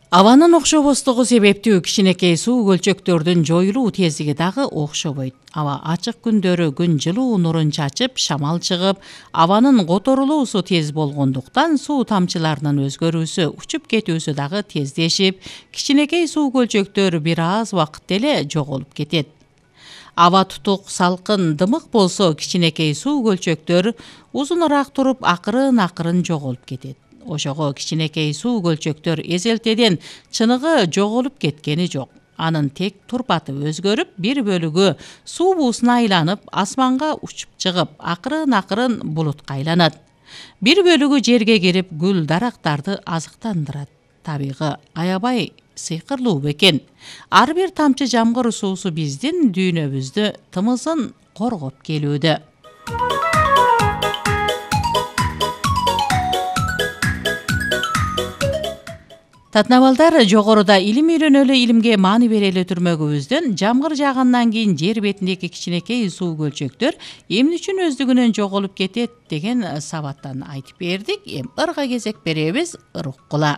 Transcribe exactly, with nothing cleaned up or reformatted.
Абанын окшобостугу себептүү кичинекей суу көлчөктөрдүн жоюлуу тездиги дагы окшобойт. Аба ачык күндөрү күн жылуу нурун чачып, шамал чыгып, абанын которулуусу тез болгондуктан суу тамчыларынын өзгөрүүсү, учуп кетүүсү дагы тездешип, кичинекей суу көлчөктөр бир аз убакытта эле жоголуп кетет. Аба тутук, салкын, дымык болсо кичинекей суу көлчөктөр узунураак туруп, акырын-акырын жоголуп кетет. Ошого кичинекей суу көлчөктөр эзелтеден чыныгы жоголуп кеткени жок. Анын тек турпаты өзгөрүп, бир бөлүгү суу буусуна айланып, асманга учуп чыгып, акырын-акырын булутка айланат. Бир бөлүгү жерге кирип, гүл дарактарды азыктандырат. Табигы аябай сыйкырлуу бекен. Ар бир тамчы жамгыр суусу биздин дүйнөбүздү тымызын коргоп келүүдө. Татнабалдар, жогоруда илим үйрөнөлү, илимге маани берели түрмөгүбүздөн жамгыр жаагандан кийин жер бетиндеги кичинекей суу көлчөктөр эмне үчүн өздүгүнөн жоголуп кетет деген сабаттан айтып бердик. Эми ырга кезек беребиз, ыр уккула.